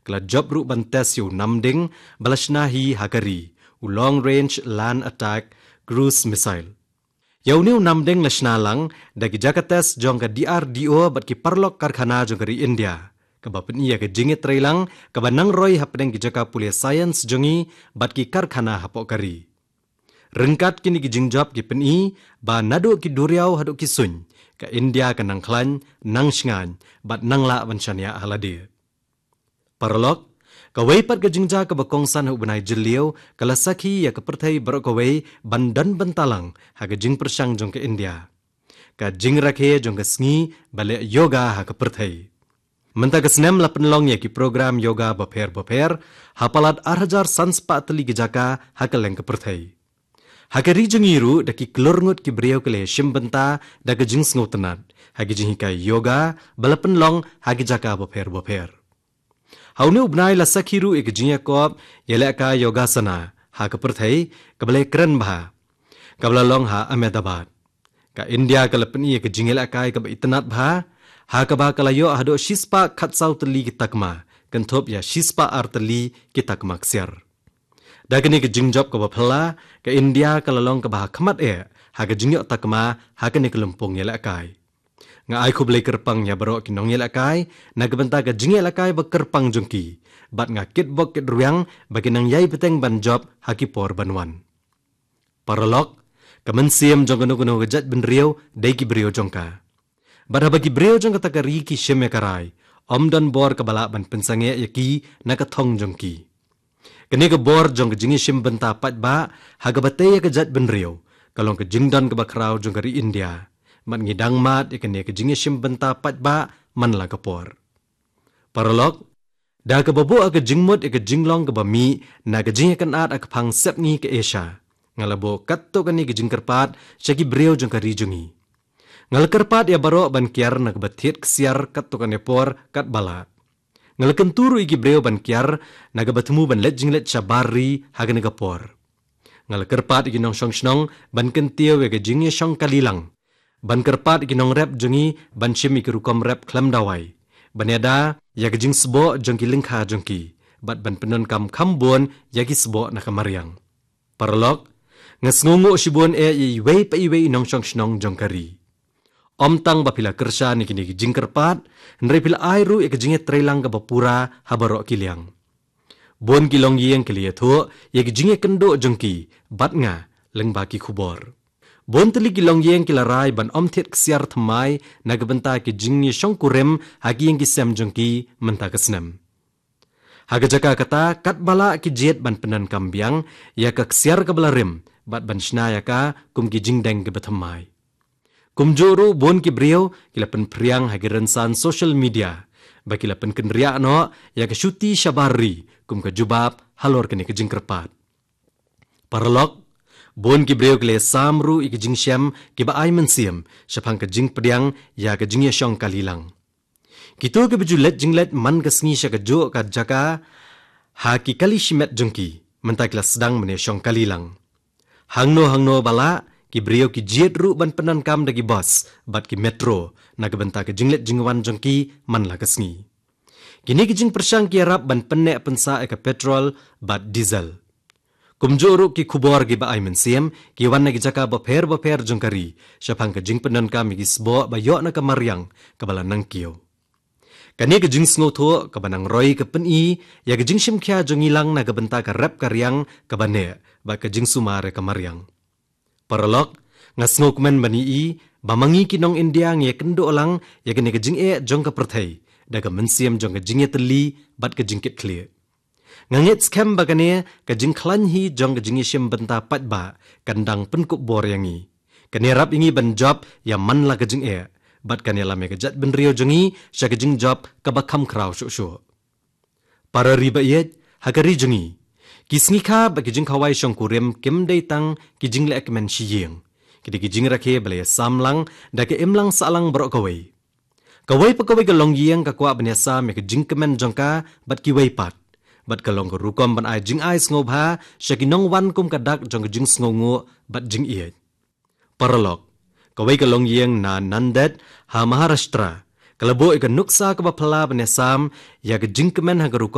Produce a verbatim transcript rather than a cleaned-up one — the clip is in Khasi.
Ka la jop ruh ban test ïa u namding ba la shna hi ha ka ri, u Long Range Land Attack Cruise Missile. Ïa une u namding la shna lang da ki jaka test jong ka D R D O bad ki paralok karkhana jong ka ri India, kaba pyni ïa ka jingïatreilang kaba nang roi hapdeng ki jaka pule science jong ngi bad ki karkhana hapoh ka ri. Ryngkat kine ki jingjop ki pyni ba naduh ki duriaw haduh ki suiñ, ka India ka nang khlaiñ, nang shngaiñ bad nang lah ban shaniah ha lade. Paralok, kawei pat ka jingjia kaba kongsan ha u bnai Jylliew ka la sakhi ïa ka pyrthei baroh kawei ban don bynta lang ha ka jingpyrshang jong ka India, ka jingrakhe jong ka sngi ba leh yoga ha ka pyrthei. Mynta ka snem la pynlong ïa ki program yoga bapher bapher ha palat ar hajar san spah tylli ki jaka ha kylleng ka pyrthei. Ha ka ri jong ngi ruh da ki klur ngut ki briew ki la ïashim bynta da ka jingsngewtynnat ha ki jinghikai yoga ba la pynlong ha ki jaka bapher bapher. Ha une u bnai la sakhi ruh ïa ka jingïakop ïalehkai yogasana ha ka pyrthei kaba la ïakren bha, kaba la long ha Ahmedabad. Ka India ka la pyni ïa ka jingïalehkai kaba itynnat bha, ha kaba ka la ïoh haduh shispah khatsaw tylli ki takma, kynthup ïa shispah ar tylli ki takma ksiar. Da kane ka jingjop kaba phylla, ka India ka la long kaba ha khmat eh ha ka jingïoh takma ha kane ka lympung ïalehkai. Nga ai khublei kyrpang ïa baroh ki nongïalehkai na ka bynta ka jingïalehkai ba kyrpang jong ki, bad nga kitbok kitrwiang ba ki nang ïai bteng ban jop ha ki por ban wan. Paralok, ka mynsiem jong kano kano ka jaitbynriew dei ki briew jong ka. Bad haba ki briew jong kata ka ri ki shim ïa ka rai, ym don bor kaba lah ban pynsangeh ïa ki na ka thong jong ki. Kane ka bor jong ka jingïashim bynta paidbah ha kaba tei ïa ka jaitbynriew ka long ka jingdon kaba khraw jong ka ri India. Bad ngi dang mad ïa kane ka jingïashim bynta paidbah man la ka por. Paralok, da kaba buh ha ka jingmut ïa ka jinglong kaba mih na ka jingïakynad ha ka phang sepngi ka Asia, nga la buh katto katne ka jingkyrpad sha ki briew jong ka ri jong ngi. Nga la kyrpad ïa baroh ban kiar na kaba thied ksiar katto katne por katba lah. Nga la kyntu ruh ïa ki briew ban kiar na kaba thmu ban leit jingleit shabar ri ha kane ka por. Nga la kyrpad ïa ki nongshong shnong ban kyntiew ïa ka jingïashong kali lang. Ban kyrpad ïa ki nongrep jong ngi ban shim ïa ki rukom rep khlem dawai, ban ïada ïa ka jingsboh jong ki lyngkha jong ki, bad ban pyndonkam kham bun ïa ki sboh na ka mariang. Paralok, nga sngewnguh shibun eh ïa iwei pa iwei i nongshong shnong jong ka ri. Ym tang ba phi la kyrshan ïa kine ki jingkyrpad, hynrei phi la ai ruh ïa ka jingïatreilang kaba pura ha baroh ki liang. Bun ki longïing ki la ïathuh ïa ka jingïakynduh jong ki bad nga lyngba ki khubor. Bun tylli ki longïing ki la rai ban ym thied ksiar thymmai na ka bynta ki jingïashongkurim ha ki ïing ki sem jong ki mynta ka snem. Ha ka jaka kata, katba lah ki jied ban pyndonkam biang ïa ka ksiar kaba la rim bad ban shna ïa ka kum ki jingdeng kiba thymmai. Kumjuh ruh bun ki briew ki la pynphriang ha ki rynsan social media ba ki la pynkynriah noh ïa ka shuti shabar ri kum ka jubab halor kane ka jingkyrpad. Paralok, bun ki briew ki la ïasam ruh ïa ki jingshem kiba ai mynsiem shaphang ka jingpdiang ïa ka jingïashong kali lang. Kito kiba ju leit jingleit man ka sngi sha kajuh ka jaka ha ki kali shimet jong ki, mynta ki la sdang ban ïashong kali lang. Hangno hangno ba lah, ki briew ki jied ruh ban pyndonkam da ki bus bad ki metro na ka bynta ka jingleit jingwan jong ki man la ka sngi. Kine ki jingpyrshang ki ïarap ban pynneh pynsah ïa ka petrol bad diesel. Kumjuh ruh ki khubor kiba ai mynsiem ki wan na ki jaka bapher bapher jong ka ri shaphang ka jingpyndonkam ïa ki sboh ba ïoh na ka mariang kaba la nang kiew. Kane ka jingsngewthuh kaba nang roi ka pyni ïa ka jingshim khia jong ngi lang na ka bynta ka rep ka riang kaba neh bad ka jingsumar ïa ka mariang. Paralok, nga sngewkmen ban ïohi ba ma ngi ki nong India ngi ïakynduh lang ïa kane ka jingeh jong ka pyrthei da ka mynsiem jong ka jingïatylli bad ka jingkitkhlieh. Nga ngeit skhem ba kane ka jingkhlaiñ hi jong ka jingïashim bynta paidbah kan dang pynkup bor ïa ngi. Kan ïarap ïa ngi ban jop ïa man la ka jingeh bad kan ïalam ïa ka jaitbynriew jong ngi sha ka jingjop kaba kham khraw shuh shuh. Para ri ba ïeit, ha ka ri jong ngi, ki sngi kha bad ki jingkhawai shongkurim kim dei tang ki jingleh kmen shi ïing. Ki dei ki jingrakhe ba la ïasam lang da ka imlang sahlang baroh kawei. Kawei pa kawei ka longïing ka kwah ban ïasam ïa ka jingkmen jong ka bad kiwei pat, bad ka long ka rukom ban ai jingai sngewbha sha ki nongwan kum ka dak jong ka jingsngewnguh bad jingïeit. Paralok, kawei ka longïing na Nanded ha Maharashtra ka la buh ïa ka nuksa kaba phylla ban ïasam ïa ka jingkmen ha ka rukom